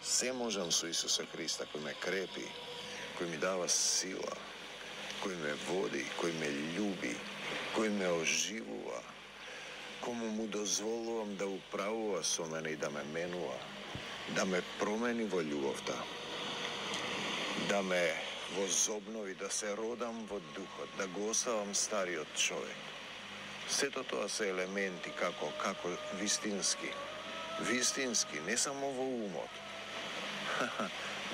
Се можам со Исуса Христа, кој ме крепи, кој ми дава сила, кој ме води, кој ме љуби, кој ме оживува, кому му дозволувам да управува со мене и да ме менува, да ме промени во љубовта, да ме возобнови, да се родам во духот, да го оставам стариот човек. Сето тоа се елементи како вистински, не само во умот,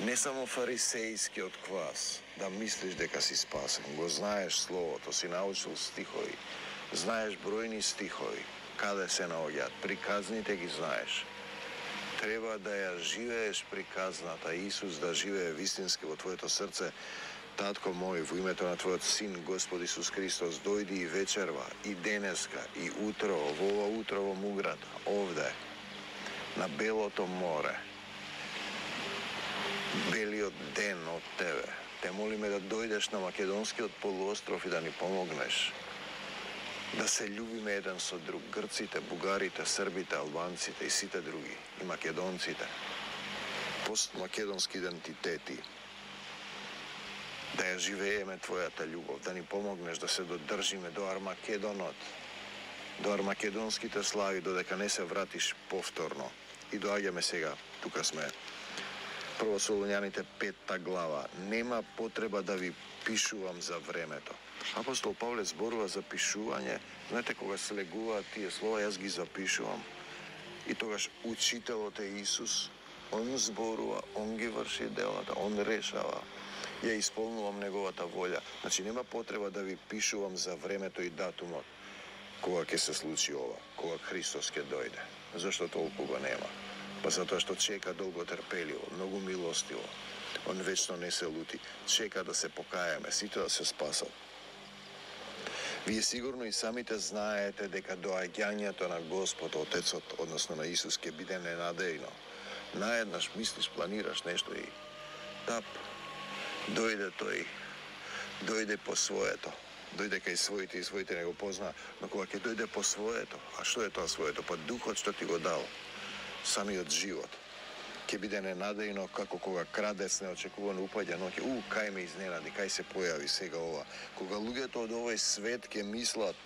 не само фарисејскиот квас, да мислиш дека си спасен. Го знаеш словото, си научил стихови, знаеш бројни стихови, каде се наоѓаат, приказните ги знаеш. Треба да ја живееш приказната, Исус да живее вистински во твоето срце. Татко мој, во името на Твојот Син, Господ Исус Христос, дојди и вечерва, и денеска, и утрово, во ова утро во Муграта, овде, на Белото море, белиот ден од Тебе. Те молиме да дојдеш на Македонскиот полуостров и да ни помогнеш да се љубиме еден со друг, грците, бугарите, србите, албанците и сите други, и македонците, постмакедонски идентитети, да ја живееме Твојата љубов, да ни помогнеш да се додржиме до Армакедонот, до армакедонските слави, додека не се вратиш повторно. И доаѓаме сега, тука сме, Прво Солуњаните 5 глава. Нема потреба да ви пишувам за времето. Апостол Павле зборува за пишување. Знаете, кога слегуваат тие слова, јас ги запишувам. И тогаш учителот е Исус. Он зборува, он ги врши делата, он решава. Ја исполнувам неговата волја. Значи, нема потреба да ви пишувам за времето и датумот кога ќе се случи ова, кога Христос ќе дојде. Зашто толку го нема? Па затоа што чека долго трпеливо, многу милостиво. Он вечно не се лути, чека да се покаеме, сите да се спасат. Вие сигурно и самите знаете дека доаѓањето на Господ Отецот, односно на Исус, ќе биде ненадејно. Наеднаш мислиш, планираш нешто и тап, дојде тој, дојде по своето. Дојде кај своите и своите не го позна, но кога ќе дојде по своето, а што е тоа своето? Па духот што ти го дал, самиот живот, ќе биде ненадејно како кога крадец неочекувано упаѓа ноќе, кај ме изненади, кај се појави сега ова. Кога луѓето од овој свет ќе мислат,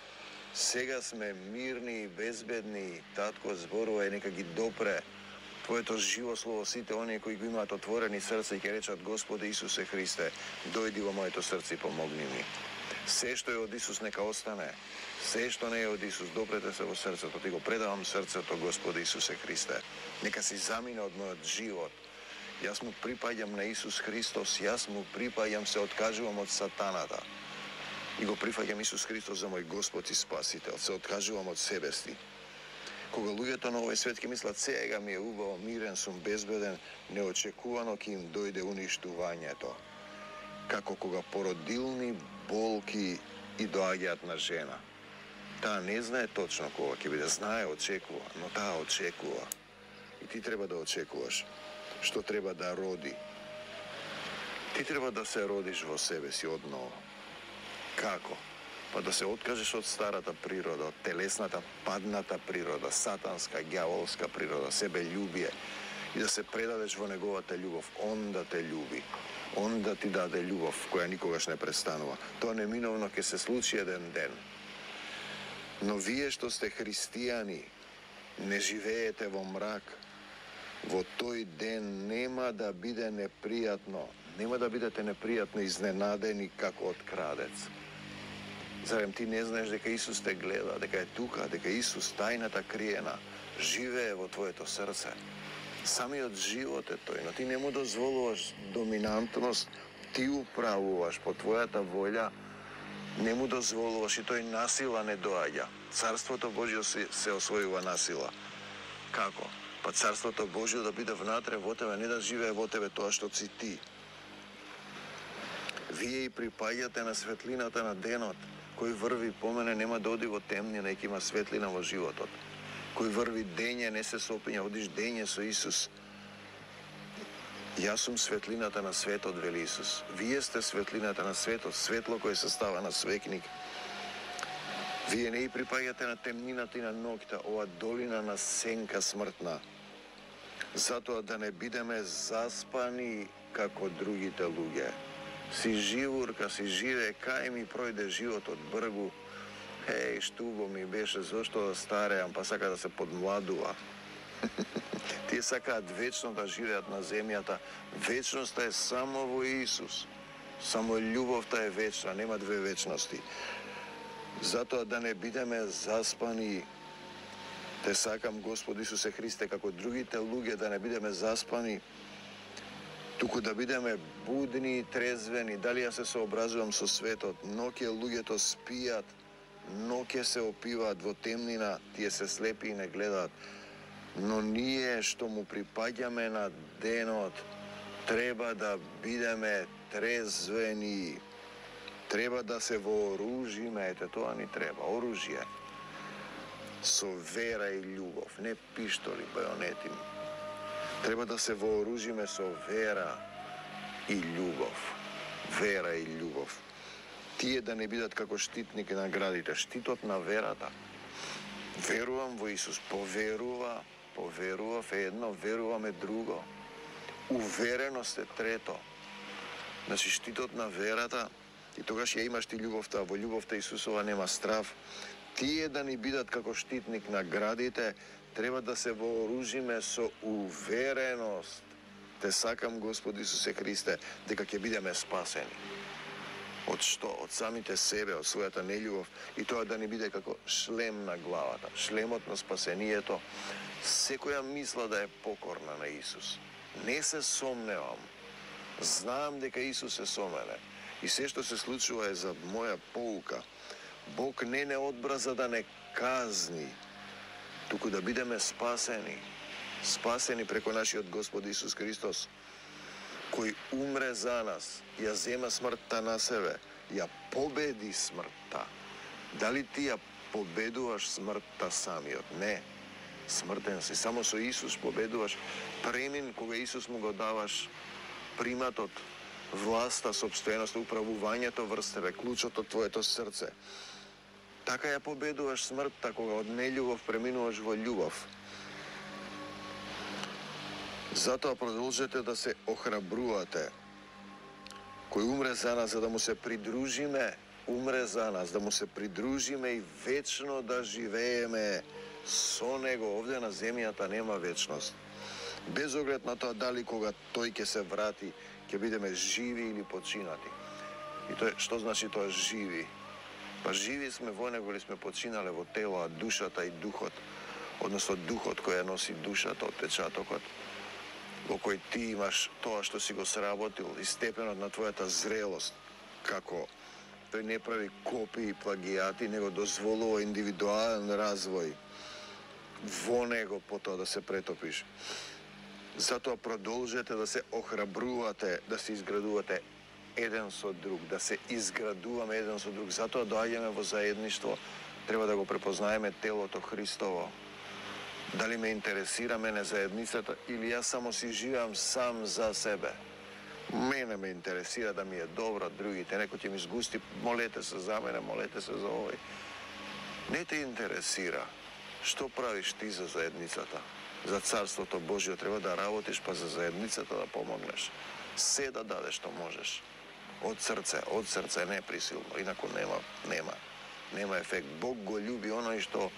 сега сме мирни и безбедни, татко зборува и нека ги допре Твоето живо слово сите оние кои го имаат отворени срца и ќе речат Господи Исусе Христе, дојди во моето срце и помогни ми. Се што е од Исус нека остане. Се што не е од Исус, допрете се во срцето. Ти го предавам срцето, Господи Исусе Христе. Нека си замине од мојот живот. Јас му припаѓам на Исус Христос, јас му припаѓам, се откажувам од сатаната. И го прифаќам Исус Христос за мој Господ и Спасител. Се откажувам од себе си. Кога луѓето на овој свет ќе мислат сега ми е убаво, мирен сум, безбеден, неочекувано ќе им дојде уништувањето. Како кога породилни болки и доаѓаат на жена. Таа не знае точно кога ќе биде, знае, очекува, но таа очекува. И ти треба да очекуваш што треба да роди. Ти треба да се родиш во себе си одново. Како? Па да се откажеш од старата природа, од телесната, падната природа, сатанска, ѓаволска природа, себељубие и да се предадеш во неговата љубов. Он да те љуби, он да ти даде љубов која никогаш не престанува. Тоа неминовно ќе се случи еден ден. Но вие што сте христијани, не живеете во мрак. Во тој ден нема да биде непријатно, нема да бидете непријатно изненадени како од крадец. Зарем ти не знаеш дека Исус те гледа, дека е тука, дека Исус тајната криена живее во твоето срце. Самиот живот е тој, но ти не му дозволуваш доминантност, ти управуваш по твојата волја, не му дозволуваш и тој насила не доаѓа. Царството Божјо се освојува насила. Како? Па Царството Божјо да биде внатре во тебе, не да живее во тебе тоа што си ти. Вие и припаѓате на светлината на денот. Кој врви по мене нема да оди во темнина, и има светлина во животот. Кој врви дење не се сопиња, одиш дење со Исус. Јас сум светлината на светот, вели Исус. Вие сте светлината на светот, светло кое се става на свекник. Вие не и припаѓате на темнината и на ноќта, ова долина на сенка смртна, затоа да не бидеме заспани како другите луѓе. Си живурка, си живе, кај ми пројде животот бргу, штубо ми беше, зошто да стареам, па сака да се подмладува. Тие сакаат вечно да живеат на земјата. Вечноста е само во Исус. Само љубовта е вечна, нема две вечности. Затоа да не бидеме заспани. Те сакам, Господ Исусе Христе, како другите луѓе, да не бидеме заспани, туку да бидеме будни и трезвени. Дали ја се сообразувам со светот? Ноќе луѓето спијат, ноќе се опиваат во темнина, тие се слепи и не гледаат. Но ние што му припаѓаме на денот, треба да бидеме трезвени. Треба да се вооружиме, ете тоа ни треба, оружје. Со вера и љубов, не пиштоли, бајонети. Треба да се вооружиме со вера и љубов. Вера и љубов. Тие да не бидат како штитник на градите. Штитот на верата. Верувам во Исус. Поверував е едно, верувам е друго. Увереност е трето. Значи, штитот на верата, и тогаш ја имаш ти љубовта, во љубовта Исусова нема страв. Тие да ни бидат како штитник на градите, треба да се вооружиме со увереност. Те сакам, Господ Исусе Христе, дека ќе бидеме спасени. Од што? Од самите себе, од својата нељубов, и тоа да ни биде како шлем на главата. Шлемот на спасението. Секоја мисла да е покорна на Исус. Не се сомневам. Знам дека Исус е со мене. И се што се случува е за моја поука. Бог не одбра за да не казни, туку да бидеме спасени. Спасени преко нашиот Господ Исус Христос, кој умре за нас, ја зема смртта на себе, ја победи смртта. Дали ти ја победуваш смртта самиот? Не. Смртен си. Само со Исус победуваш. Премин кога Исус му го даваш приматот, власта, собственоста, управувањето врз тебе, клучот од твоето срце. Така ја победуваш смртта кога од нељубов преминуваш во љубов. Затоа продолжете да се охрабрувате. Кој умре за нас, за да му се придружиме, умре за нас, да му се придружиме и вечно да живееме со него. Овде на земјата нема вечност. Без оглед на тоа дали кога тој ќе се врати, ќе бидеме живи или починати. И тоа, што значи тоа живи? Па живи сме во него или сме починале во тело, а душата и духот, односно духот кој ја носи душата, отпечатокот, во кој ти имаш тоа што си го сработил и степенот на твојата зрелост, како тој не прави копии и плагијати, него дозволува индивидуален развој во него потоа да се претопиш. Затоа продолжете да се охрабрувате, да се изградувате еден со друг, да се изградуваме еден со друг. Затоа доаѓаме во заедништво, треба да го препознаеме телото Христово. Дали ме интересира мене заедницата или јас само си живеам сам за себе. Мене ме интересира да ми е добро, другите, некој ќе ми сгусти, молете се за мене, молете се за овој. Не те интересира што правиш ти за заедницата. За Царството Божјо треба да работиш, па за заедницата да помогнеш. Се да дадеш што можеш. Од срце, не присилно. Инаку нема ефект. Бог го љуби оној што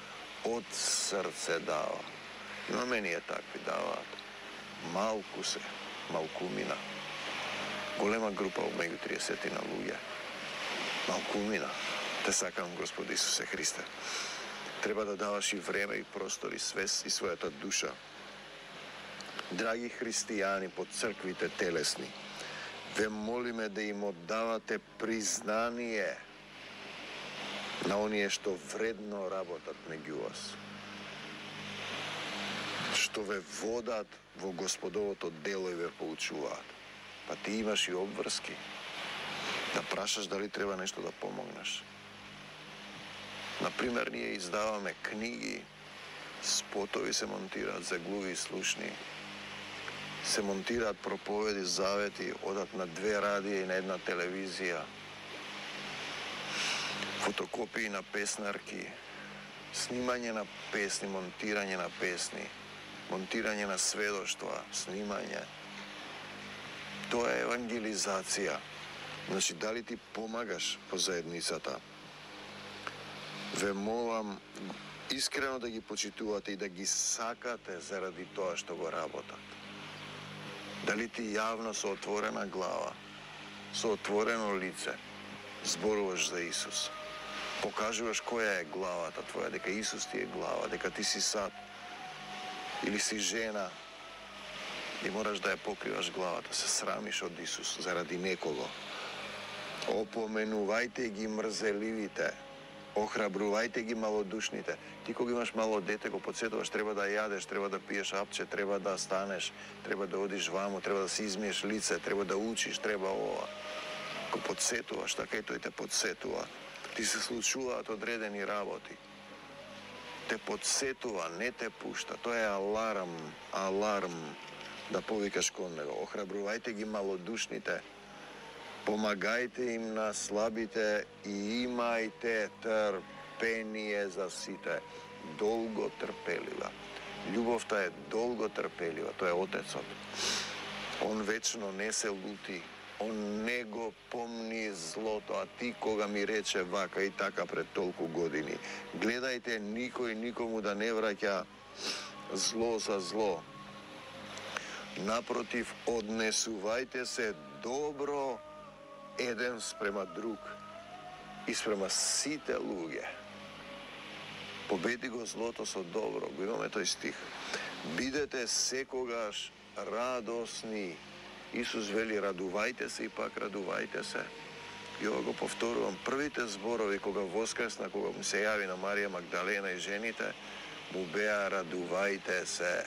од срце дава. Но мене такви даваат. Малку се, малкумина. Голема група меѓу 30 на луѓе. Малкумина. Те сакам, Господ Исусе Христе. Треба да даваш и време, и простор, и свест, и својата душа. Драги христијани под црквите телесни, ве молиме да им оддавате признание на оние што вредно работат меѓу вас, што ве водат во Господовото дело и ве поучуваат. Па ти имаш и обврски да прашаш дали треба нешто да помогнеш. Например, ние издаваме книги, спотови се монтираат за глуви и слушни, се монтираат проповеди, завети, одат на 2 радија и на 1 телевизија. фотокопии на песнарки, снимање на песни, монтирање на песни, монтирање на сведоштва, снимање. Тоа е евангелизација. Значи, дали ти помагаш по заедницата? Ве молам искрено да ги почитувате и да ги сакате заради тоа што го работат. Дали ти јавно со отворена глава, со отворено лице, зборуваш за Исус? Покажуваш која е главата твоја, дека Исус ти е глава, дека ти си сад или си жена и мораш да ја покриваш главата, се срамиш од Исус заради некого. Опоменувајте ги мрзеливите, охрабрувајте ги малодушните. Ти кога имаш мало дете, го подсетуваш, треба да јадеш, треба да пиеш апче, треба да станеш, треба да одиш ваму, треба да си измиеш лице, треба да учиш, треба ова. Го подсетуваш, така и тој те подсетува. Ти се случуваат одредени работи. Те подсетува, не те пушта. Тоа е аларм да повикаш кон него. Охрабрувајте ги малодушните, помагајте им на слабите и имајте трпение за сите. Долго трпелива. Љубовта е долго трпелива. Тоа е Отецот. Он вечно не се лути. Он не го помни злото, а ти кога ми рече вака и така пред толку години. Гледајте никој никому да не враќа зло за зло. Напротив, однесувајте се добро еден спрема друг и спрема сите луѓе. Победи го злото со добро. Го имаме тој стих. Бидете секогаш радосни. Исус вели, радувајте се и пак радувајте се. И ова го повторувам. Првите зборови кога воскресна, кога му се јави на Марија Магдалена и жените, му беа радувајте се.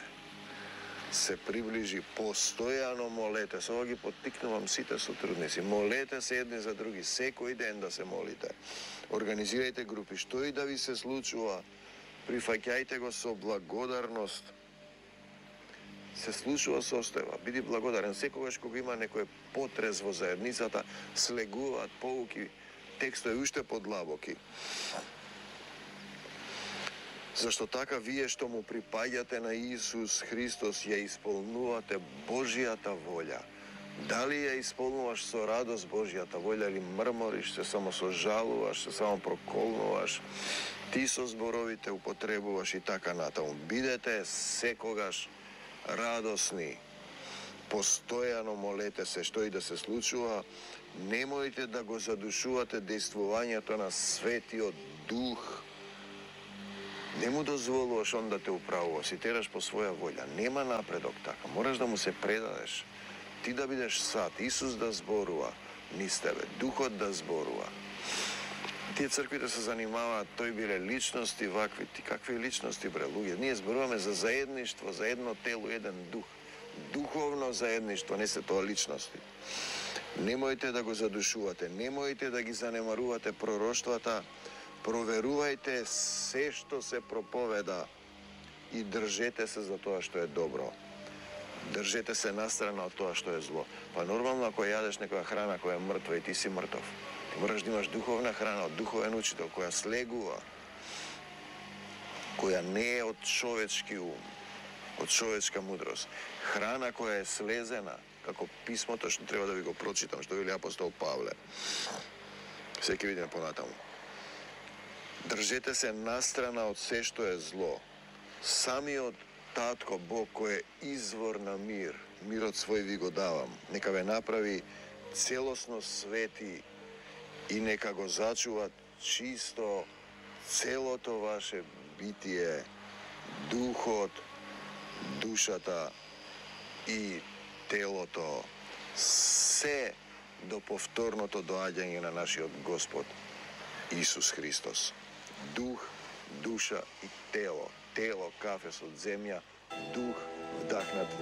Се приближи, постојано молете. Со ова ги поттикнувам сите сотрудници. Молете се едни за други, секој ден да се молите. Организирајте групи, што и да ви се случува, прифаќајте го со благодарност. Се случува состојба, биди благодарен. Секогаш кога има некој потрес во заедницата, слегуваат поуки, текстови уште подлабоки. Зашто така вие што му припаѓате на Исус Христос ја исполнувате Божјата волја. Дали ја исполнуваш со радост Божјата волја или мрмориш, се само сожалуваш, се само проколнуваш, ти со зборовите употребуваш и така натаму. Бидете секогаш радосни, постојано молете се, што и да се случува, немојте да го задушувате дејствувањето на Светиот Дух. Не му дозволуваш он да те управува, си тераш по своја волја. Нема напредок така, мораш да му се предадеш. Ти да бидеш сад, Исус да зборува низ тебе, Духот да зборува. Тие црквите се занимаваат, тој биле личности вакви, ти какви личности бре, луѓе? Ние зборуваме за заедништво, за едно тело, еден дух. Духовно заедништво, не се тоа личности. Немојте да го задушувате, немојте да ги занемарувате пророштвата, проверувајте се што се проповеда и држете се за тоа што е добро. Држете се настрана од тоа што е зло. Па нормално ако јадеш некоја храна која е мртва и ти си мртов, ти мораш да имаш духовна храна од духовен учител која слегува, која не е од човечки ум, од човечка мудрост. Храна која е слезена, како писмото што треба да ви го прочитам, што вели апостол Павле. Се ќе видиме понатаму. Држете се настрана од се што е зло. Самиот Татко Бог кој е извор на мир, мирот свој ви го давам. Нека ве направи целосно свети и нека го зачува чисто целото ваше битие, духот, душата и телото, се до повторното доаѓање на нашиот Господ Исус Христос. Дух, душа и тело. Тело, кафе од земја, дух, вдахнат во